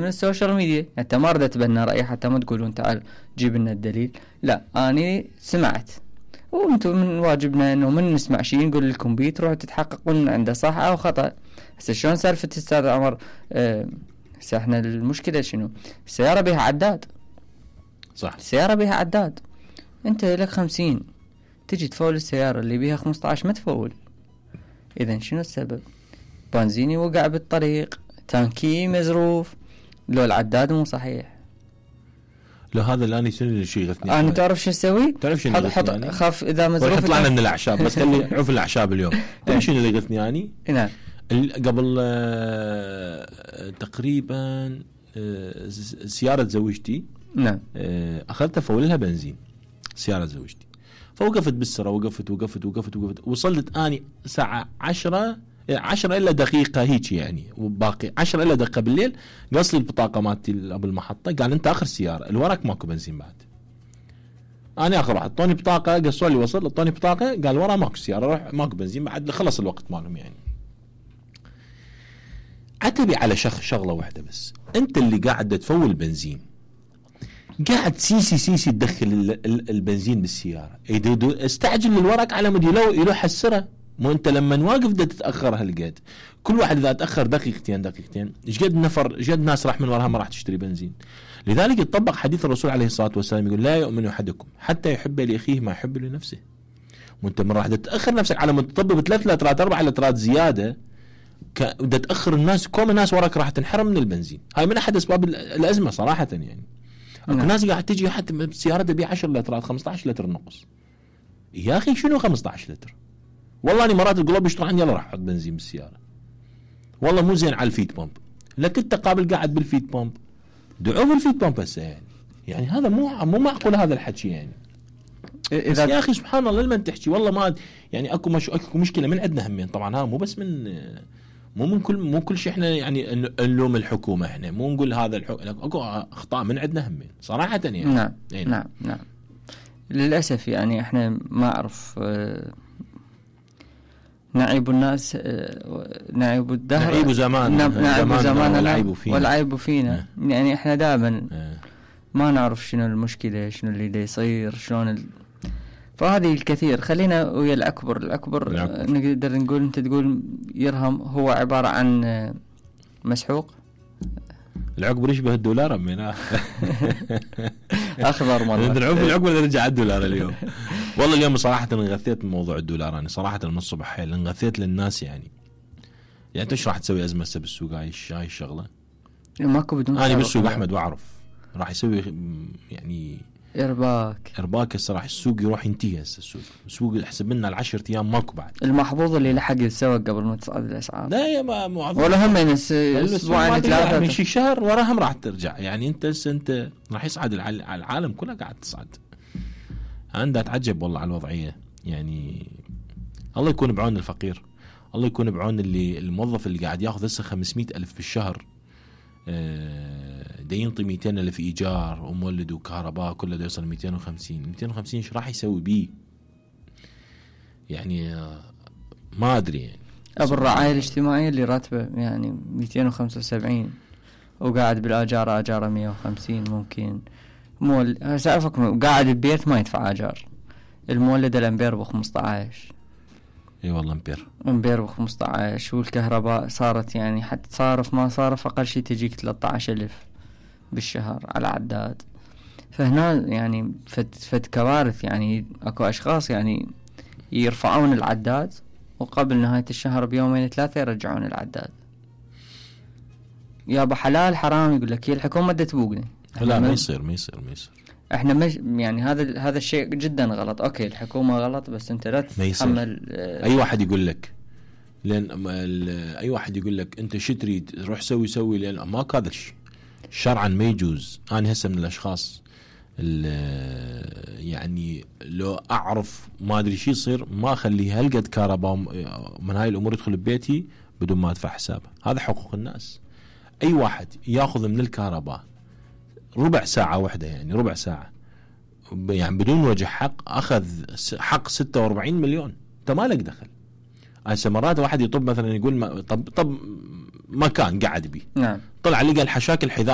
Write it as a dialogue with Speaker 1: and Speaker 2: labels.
Speaker 1: من السوشيال ميديا. انت ما ردت تبنى رأي حتى ما تقولون تعال جيب لنا الدليل، لا اني سمعت، وانتم من واجبنا انه من نسمع شيء نقول لكم بيه تروحوا تتحققون عنده صح او خطأ. هسه شلون سالفة استاذ عمر؟ هسه احنا المشكلة شنو؟ السيارة بها عداد،
Speaker 2: صح،
Speaker 1: السيارة بها عداد، انت لك 50 تجي تفول السيارة اللي بيها 15 ما تفول. اذا شنو السبب؟ بنزيني وقع بالطريق، تانكي مزروف، لو العداد مو صحيح.
Speaker 2: لو هذا الان شنو شيء يغثني
Speaker 1: انا تعرف شو اسوي؟
Speaker 2: تعرف شنو
Speaker 1: حط
Speaker 2: يعني؟
Speaker 1: خاف اذا مزروف
Speaker 2: طلعنا من الاعشاب، بس خلينا نعرف الاعشاب اليوم. تعرف شنو اللي يغثني يعني؟
Speaker 1: نعم.
Speaker 2: قبل تقريبا سيارة زوجتي،
Speaker 1: نعم،
Speaker 2: اخذتها فولها بنزين سيارة زوجتي، فوقفت بالسرة، وقفت وصلت اني ساعة 10 إلا دقيقة هيك يعني، وباقي 10 إلا دقيقة بالليل. قص لي البطاقة مالتي ابو المحطة، قال انت اخر سيارة، الوراك ماكو بنزين بعد. انا اخر واحد اعطوني بطاقة، قصوا لي وصل، اعطوني بطاقة، قال ورا ماكو سيارة، روح ماكو بنزين بعد، خلص الوقت مالهم يعني. عتبي على شغلة واحدة بس، انت اللي قاعد تفول بنزين، قاعد سيسي تدخل البنزين بالسيارة، استعجل الورق على مود يلوح السرة. مو انت لما واقف دا تتأخر هالقد، كل واحد اذا تأخر دقيقتين ايش قد ناس راح من وراها ما راح تشتري بنزين. لذلك يطبق حديث الرسول عليه الصلاة والسلام، يقول لا يؤمن أحدكم حتى يحب لأخيه ما يحب لنفسه. وانت من راح تتأخر نفسك على مود تطبق ب3 لترات 4 لترات زيادة، بدها تأخر الناس، كم الناس وراك راح تنحرم من البنزين. هاي من أحد أسباب الأزمة صراحة يعني. اكو ناس قاعد تجي حتى سيارتها بيع 10 لترات 15 لتر نقص. يا أخي شنو 15 لتر؟ والله أنا مرات القلوب يشتروا عندي، يلا راح أحط بنزين بالسيارة، والله مو زين على الفيت بامب. لكن أنت قابل قاعد بالفيت بامب، دعوه بالفيت بامب هسه يعني هذا مو معقول هذا الحكي يعني. إذا يا أخي سبحان الله لما تحكي والله ما يعني أكو مشكلة من عندنا همين. طبعا ها مو بس مو كل شيء احنا يعني نلوم الحكومة، احنا مو نقول هذا اكو اخطاء من عندنا همين صراحة يعني.
Speaker 1: نعم يعني. نعم للأسف يعني احنا ما اعرف نعيب الناس نعيب الدهر،
Speaker 2: نعيب زماننا
Speaker 1: والعيب فينا. يعني احنا دائما ما نعرف شنو المشكلة، شنو اللي دا يصير، شلون فهذه الكثير. خلينا ويا الأكبر نقدر نقول، أنت تقول يرهم هو عبارة عن مسحوق.
Speaker 2: العقبر يشبه الدولار أمينا
Speaker 1: أخضر مرة
Speaker 2: نعرف العقبر نرجع على الدولار اليوم. والله اليوم صراحة انغثيت من موضوع الدولار، أنا صراحة من الصبح حيل انغثيت للناس يعني أنت إيش راح تسوي أزمة بالسوق هاي الشغلة؟
Speaker 1: ماكو بدون
Speaker 2: أنا بالسوق أحمد وأعرف راح يسوي يعني إرباك هسه راح السوق يروح ينتهي. هسه السوق حسب لنا 10 أيام ماكو بعد.
Speaker 1: المحظوظ اللي لحق يتسوق قبل ما تصعد الأسعار.
Speaker 2: لا يا ما
Speaker 1: ولا هم أسبوعين 3
Speaker 2: من شي شهر وراهم راح ترجع يعني. أنت راح يصعد العالم كله قاعد تصعد. أنا أتعجب والله على الوضعية يعني. الله يكون بعون الفقير، الله يكون بعون الموظف اللي قاعد ياخذ هسه 500,000 بالشهر، دا ينطي 200,000 إيجار ومولد وكهرباء كله دا يوصل 250 ايش راح يسوي بيه يعني؟ ما أدري يعني.
Speaker 1: أبو الرعاية الاجتماعية اللي راتبه يعني 275 وقاعد بالآجار آجاره 150 ممكن. سأفكر قاعد ببيت ما يدفع آجار. المولد الأمبير ب15.
Speaker 2: اي والله
Speaker 1: امبير ب15، والكهرباء صارت يعني حتى صارف ما صارف اقل شيء تجيك 13,000 بالشهر على عداد. فهنا يعني فد كوارث يعني. اكو اشخاص يعني يرفعون العداد وقبل نهاية الشهر بيومين 3 يرجعون العداد. يا بحلال حرام يقول لك هي الحكومة دا تبوقنا.
Speaker 2: لا ما يصير
Speaker 1: احنا مش يعني هذا الشيء جدا غلط. اوكي الحكومة غلط، بس انت لا تتحمل.
Speaker 2: اي واحد يقول لك، لان اي واحد يقول لك انت شو تريد روح سوي لان ماكو هذا الشيء شرعا ما يجوز. انا هسه من الاشخاص يعني لو اعرف ما ادري شو يصير ما اخليه هالقد كهرباء من هاي الامور يدخل ببيتي بدون ما ادفع حسابه. هذا حقوق الناس. اي واحد ياخذ من الكهرباء ربع ساعة واحدة يعني ربع ساعة يعني بدون وجه حق، أخذ حق 46 مليون. أنت ما لك دخل. هسه مرات واحد يطب مثلا يقول طب مكان قاعد بيه،
Speaker 1: نعم،
Speaker 2: طلع لقى الحشاك الحذاء